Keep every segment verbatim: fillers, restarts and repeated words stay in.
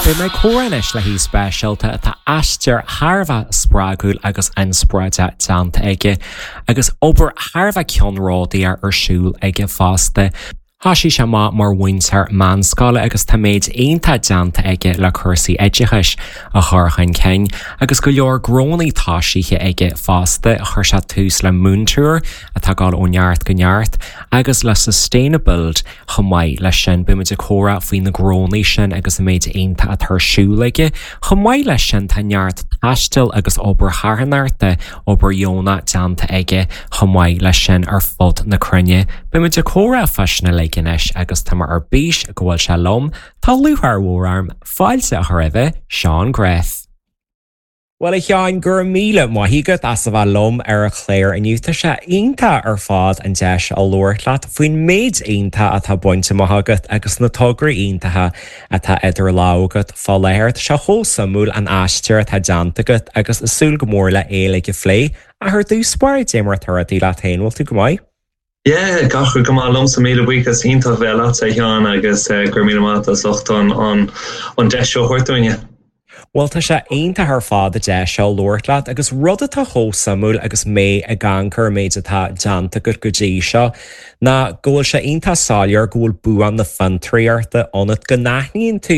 Beidh mé ag comhrá anois le haoi speisialta atá aistear thar a bheith spreagúil agus inspioráideach déanta aige, agus obair thar a bheith ceannródaíoch ar siúl aige fosta. Thosaigh sé amach mar mhúinteoir meánscoile agus tá méid iontach déanta aige le cúrsaí oideachais a chur chun cinn, agus go leor gnónna tosaithe aige fosta chuir sé tús le Múinteoir atá ag dul ó neart go neart, agus le Sustainabuild chomh maith leis sin beimid ag comhrá faoi na gnónna sin agus an méid iontach atá ar siúl aige. Chomh maith leis sin tá neart taistil agus obair charthanachta obair dheonach déanta aige chomh maith leis sin ar fud na cruinne. Beimid ag comhrá faoi sin uilig anois agus tá mé ar bís go bhfuil sé liom tá lúcháir mhór orm fáilte a chur roimh Seán Graff. Well a Sheáin go raibh míle maith agat as a bheith liom ar an chlár inniu tá sé iontach ar fad an deis a labhairt leat faoin méid iontach atá bainte amach agat agus na tograí iontacha atá idir lámha agat fá láthair sé chomh suimiúil an aistear atá déanta agat agus ag súil go mór le é uilig a phlé ach ar dtús báire cad é mar atá rudaí leat féin bhfuil tú go maith? Yeah, gach go maith liomsa míle buíochas iontach bheith leatsa a Sheáin agus uh, gur míle maith as ucht an an an deis seo a thabhairt dúinne. Well tá sé iontach ar fad a deis seo labhairt leat agus rud atá chomh suimiúil agus mé ag amharc ar an méid atá déanta agat go dtí seo ná go bhfuil sé iontach soiléir go bhfuil bua na fiontraíochta ionat go n-aithníonn tú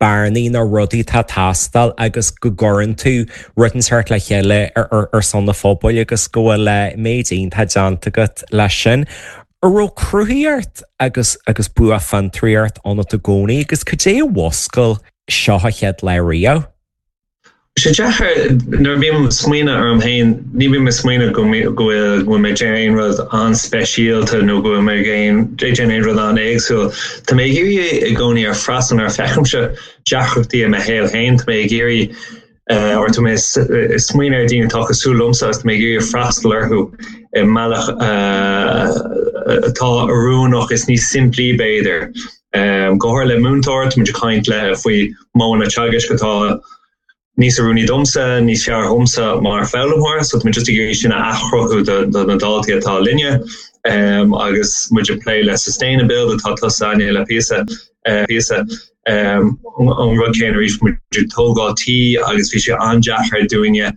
bearnaí na rudaí atá ag teastáil agus go gcuireann tú rud inteacht le chéile ar, ar, ar son na pobail agus go bhfuil méid iontach déanta agat leis sin. An raibh cruthaíocht agus agus bua fiontraíocht ionat i gcónaí agus cad é a mhúscail seo an chéad lá riamh. Sé deacair nuair bhím smaoineamh orm féin ní bhím smaoineamh go bhfuil go mé aon rud an-speisialta nó go mé aon aon rud an-éagsúil. Tá mé ag iarraidh i gcónaí ar freastal ar feicimse deacrachtaí i mo shaol féin, Tá mé ag iarraidh or tá mé smaoineamh ar daoine atá cosúil liomsa agus tá mé ag iarraidh freastal orthu i mbealach atá oiriúnach is níos simplí b'fhéidir. Um, go háirithe le múinteoir muid ag caint le faoi modhanna teagaisc atá níos oiriúnaí domsa, níos fearr domsa mar foghlaimeoir, so tá just ag iarraidh sin a athchruthú do na daltaí atá linne um, agus muid ag plé le Sustainabuild atá tusa ag le píosa uh, píosa um, an rud céanna arís muid ag tógáil tí agus bhí sé an-deacair dúinne